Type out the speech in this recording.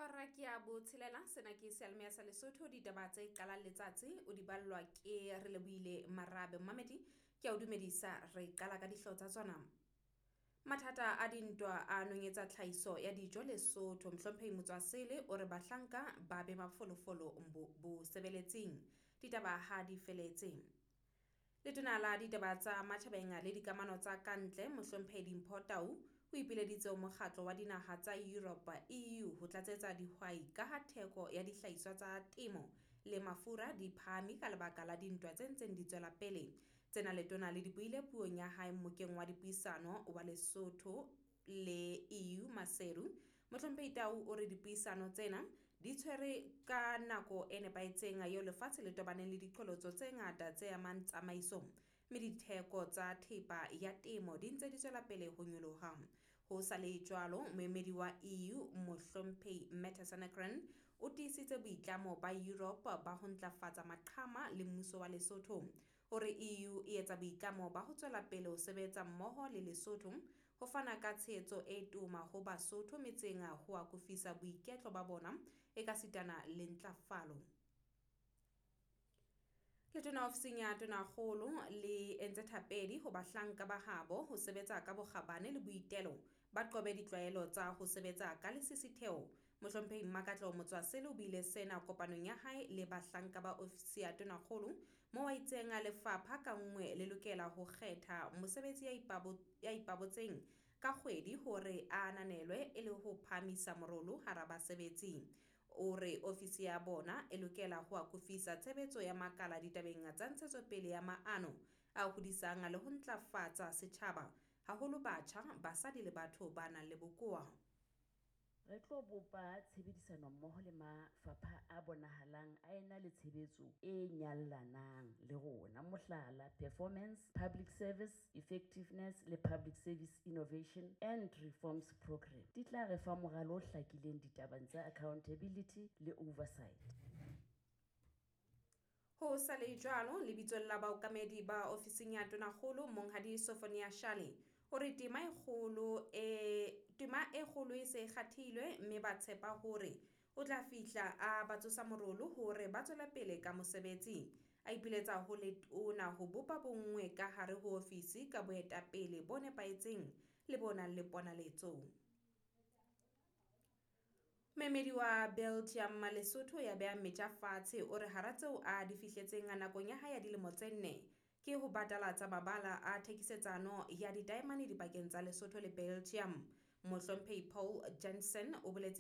Hora ke ya botshelela, sena ke seyalemoya sa Lesotho. Ditaba tse qalang letsatsi o di ballwa ke Relebohile Marabe. Mmamedi ke a o dumedisa, re qala ka dihlooho tsa tsona. Mathata a dintwa a nonyetsa tlhahiso ya dijo Lesotho. Mohlomphehi Motswasele o re bahlanka ba be mafolofolo bosebeletsing. Ditaba ha di feletse. Letona la ditaba tsa matjhabeng le dikamano tsa kantle Mohlomphehi Dimpho Tau o ipileditse ho mokgatlo wa dinaha tsa Europe EU ho tlatsetsa dihwai ka ha theko ya dihlahiswa tsa temo le mafura di phahame ka lebaka la dintwa tse ntseng di tswela pele. Tsena letona le di buile puong ya hae mmokeng wa dipuisano wa Lesotho le EU Maseru. Mohlomphehi Tau o re dipuisano tsena di tshwere ka nako e nepahetseng eo lefatshe le tobaneng le diqholotso tse ngata tse amang tsamaiso, mme ditheko tsa thepa ya temo di ntse di tswela pele ho nyoloha. Ho sa le jwalo, moemedi wa EU Mohlomphehi Mette Sanagren o tiisitse boitlamo ba Europe ba ho ntlafatsa maqhama le mmuso wa Lesotho. O re EU e etsa boitlamo ba ho tswela pele ho sebetsa mmoho le Lesotho ho fana ka tshehetso e toma ho Basotho metseng ho akofisa boiketlo ba bona ekasitana le ntlafalo. Letona ofising ya Tonakgolo le entse thapedi ho bahlanka ba habo ho sebetsa ka bokgabane le boitelo, ba qobe ditlwaelo tsa ho sebetsa ka lesisitheho. Mohlomphehi Mmakatleho Motswasele o buile sena kopanong ya hae le bahlanka ba ofisi ya Tonakgolo moo a itseng lefapha ka nngwe le lokela ho kgetha mosebetsi ya ipabotseng ka kgwedi hore a ananelwe e le ho phahamisa morolo hara basebetsi. O re ofisi ya bona e lokela ho akofisa tshebetso ya makala ditabeng tsa ntshetsopele ya maano a hodisang le ho ntlafatsa setjhaba, haholo batjha, basadi le batho ba nang le bokowa. Re tlo bopa tshebedisanommoho le mafapha a bonahalang a ena le tshebetso e nyallanang le rona, mohlala, Performance, Public Service Effectiveness le Public Service Innovation and Reforms Programme di tla re fa moralo o hlakileng ditabeng tsa accountability le oversight. Ho sa le jwalo, lebitsong la baokamedi ba ofising ya Tonakgolo Monghadi Sofonia Shale o re tema e kgolo e se e kgathilwe mme ba tshepa hore o tla fihla a ba tsosa morolo hore ba tswele pele ka mosebetsi. A ipiletsa ho letona ho bopa bonngwe ka hare ho ofisi ka boetapele bo nepahetseng le bo nang le ponaletso. Moemedi wa Belgium Lesotho ya behang metja fatshe o re hara tseo a di fihletseng nakong ya hae ya dilemo tse 4 ke ho batalatsa mabala a thekisetsano ya ditaemane dipakeng tsa Lesotho le Belgium. Mohlomphehi Paul Jansen o boletse